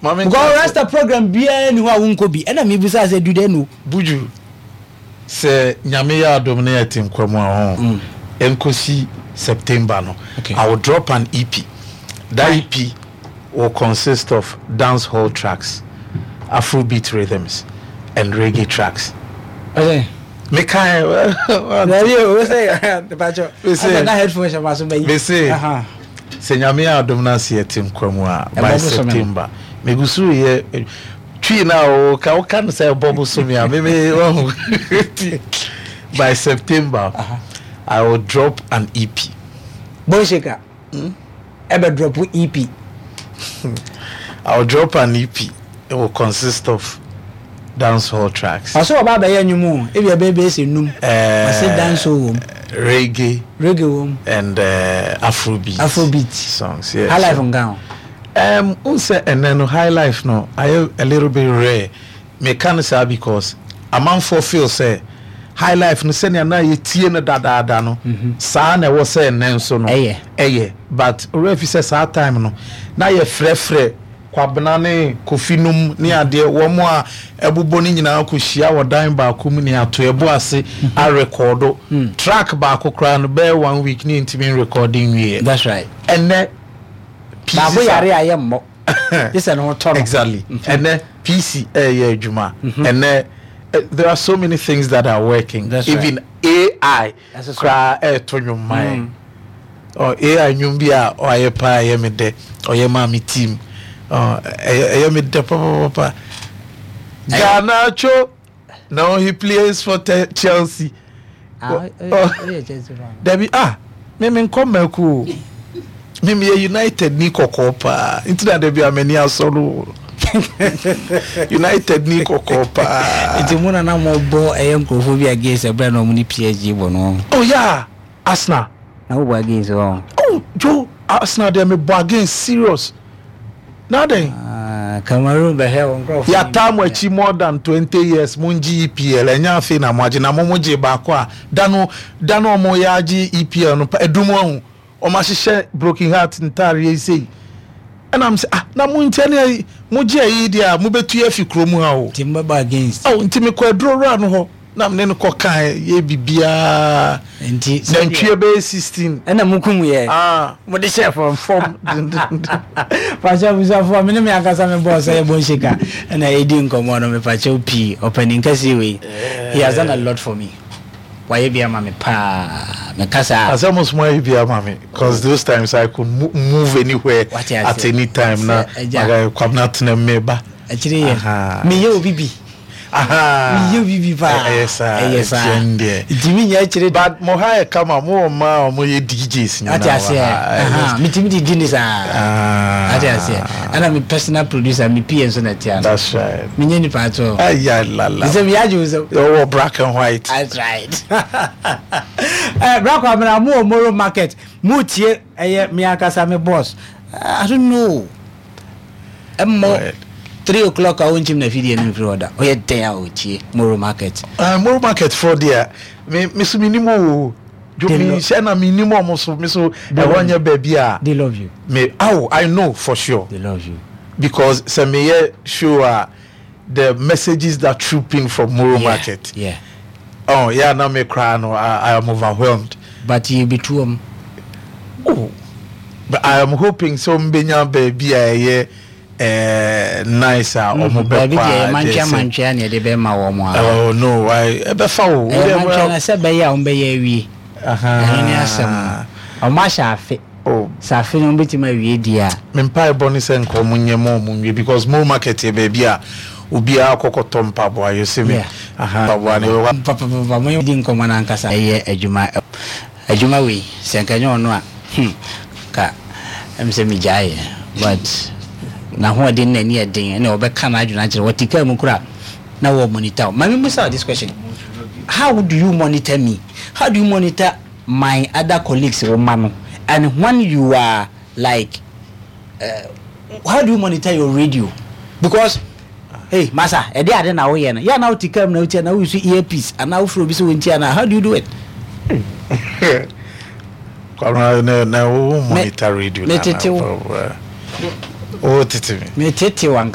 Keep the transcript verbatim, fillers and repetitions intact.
Maame. Because Rasta program biara ni hɔ a wonkɔ bi, ɛna mebisa sɛ, do they know? Buju, sɛ Nyame yɛ adom na yɛte nkwa mu a, ho nkosi September no, Okay. I will drop an E P. That E P will consist of dance hall tracks, Afrobeat rhythms and reggae tracks. Ɔsɛ mekae. Dabi o, sɛ mepakyɛ. Mese- asɛ na headphone hyɛ ma so bɛyi. Mese- Aha. Sɛ Nyame yɛ adom no ase yɛte nkwa mu a, by Ɛbɔ bosome no. September, megu so yɛ twi no a woka woka no sɛ ɛbɔ bosome a meme wahu. By September, Aha. I will drop an E P. Bone Shaker ɛbɛ drop E P. I will drop an E P. It will consist of dance hall tracks. Ɔsɛ ɔba abɛyɛ nnwom o, ebi ɛbɛyɛ bɛyɛ sɛ num. Uh, ɔsɛ dance hall wɔ mu, reggae, reggae wɔ mu, and uh, Afrobeat. Afrobeat. Songs. Yeah. High life nka ho? Um, n sɛ ɛnɛ no, high life no ayɛ a little bit rare. Meka no saa because amanfoɔ feel sɛ high life no, sɛnea na yɛtie no dadaada no, saa na ɛwɔ sɛ ɛnɛ nso no Ɛyɛ. Ɛyɛ, but owurɛ fi sɛ saa time no na yɛfrɛfrɛ Kwabena ne Kofi nom ne adeɛ, wɔn a ɛbobɔ no nyinaa kɔhyia wɔ dan baako mu ne ato ɛbo ase arekɔdo track baako koraa no bɛyɛ one week ne ntumi nrekɔde nwie. That's right. Ɛnɛ baako yare a yɛ mmɔ gye sɛ ne ho tɔ no. Exactly. Ɛnɛ P C ɛyɛ adwuma. Ɛnɛ eh, there are so many things that are working. That's Even A I That's right. koraa ɛɛto nnwom ma yɛn. Ɔ A I nnwom bi a ɔayɛ paa, ɛyɛ me dɛ, ɔyɛ maa me team. Ɔ ɛyɛ ɛyɛ me dɛ papapapa. Garnacho, now he plays for te- Chelsea. Ah, Oh, ɔyɛ oh. ɔyɛ Chelsea fan? Dabi, ah, me me nkɔ mɛko o, me me yɛ United ni kɔkɔɔ paa, nti na dabi a m'ani asɔ no o. United ni kɔkɔɔ paa. Nti mu na na mo bɔ ɛyɛ nkurɔfoɔ bi against ɛbrɛ na ɔmo ne P S G bɔ no? Oh yeah, Arsenal. Na wobɔ against wɔn? Oh Joe, Arsenal deɛ, me bɔ against serious na den. Ah, Cameroon bɛhwɛ wɔn nkurɔfoɔ. Yàtá mo akyi more than twenty years, mo n gye E P L, ɛnyɛ afei na mo agye, na mo mo gye baako a dano dano ɔmo yɛ agye E P L no pa edum ɔho, ɔmo ahyehyɛ broken heart ntaareɛ yi sei, ɛna mo sɛ, ah, na mo nkyɛn ne mo gye ayi deɛ a mo bɛtu afi kurom ha o. Nti mo bɛbɔ against? Ɔw, nti mekɔ aduro wura no hɔ na me ne no kɔ kan yɛ bibiara. Nti nantwie bɛyɛ sixteen. Ɛna mo kum yɛ? Ah. Mo de hyɛ fam? Fam dendenden. Pakyɛ abusuafoɔ, me ne me ankasa me bɔɔ sɛ yɛ Bone Shaker ɛna ɛdi nkɔmmɔ no. Mepakyɛw pii, ɔpanin kɛseɛ wei, he has done a lot for me. Wayɛ bi ama me paa, meka saa. Asɛ mo soma yi bi ama me, 'cause those times I could mo move anywhere Wate ase. at any time na Sɛ, agya. Maka Kwabena tena me ba. Akyire yɛ Aha. meyɛ obi bi. Aha. Meyɛ obi bi paa. Ɛyɛ saa. Ɛyɛ saa. Ɛtiɛ deɛ. Nti menyɛ akyire. But mo ha yɛ kama, mo wɔ mmaa a mo yɛ D Js nyinaa Ate wɔ aseɛ. ha. Aha, metumi de di ne saa. Ah. Ate aseɛ, ɛna me personal producer, me P A nso na ɛte ano. That's right. Menyɛ nipa ato. Aya la la. Sɛ meyɛ agye wo sɛ ɔwɔ black and white. That's right. Eh, Bra Kwamina, mo wɔ Moro Market. Mo tie ɛyɛ me ankasa me boss. Eh, I don't know. Ɛmmɔ Right. three o'clock a wonkyim na fidie no mfiri hɔ da. Ɔyɛ dɛn a ɔtie Moro Market. Uh, Moro Market for deɛ, me me so me nim o. Jo They me lo- hyɛ na me nim ɔmo so, me so They ɛhɔ love nyɛ baabi a They love you. me. Oh, I know for sure. They love you. Because sɛ meyɛ show a, the messages that troop in from Moro Yeah, Market, Yeah. oh yeah, na me cry no, I, I am overwhelmed. But yɛbɛtu wɔm. Oh, but I am hoping so mbenya baabi a ɛyɛ eh, nice a ɔmo bɛkɔ. Baabi deɛ a mantwea deɛ sɛ- mantwea ne yɛde bɛma wɔ mo a. Oh no, I ɛbɛfa wo. Ɛyɛ mantwea na sɛ bɛyɛ a wɔmbɛyɛ awie. Aha. Ɛno ne asɛm no. Ɔmo ahyɛ afe. Oh. Sɛ afe no wɔmbɛtumi awie die a. Me mpaebɔ ne sɛ nka ɔmo nyɛ ma ɔmo nwie, because Moro Market yɛ baabi a obiara kɔkɔtɔ mpaboa yɛ sɛ me Yeah. aha mpaboa ne ɛwɔ. Papapapa, mo di nkɔmmɔ no ankasa, ɛyɛ adwuma adwuma wei sɛ nka nyɛ ɔno a, hmm, ka ɛm sɛ megyaeɛ, but n'ahoɔden n'ani yɛ den, ɛna ɔbɛka n'adwene akyerɛ wɔte kaa mu kora na wɔ monitor wo. Ma me musa wo this question: how do you monitor me? How do you monitor my other colleagues wo ma no? And when you are like, uh, how do you monitor your radio? Because hey, masa, ɛde ade na woyɛ no yɛ na wote kaa mu na wotia na woyi earpiece anaa wofrɛ obi sɛ wɔntia na how do you do it? Kwabena, na na wo monitor radio na metete wo. Wo tete me. Metete wo anka.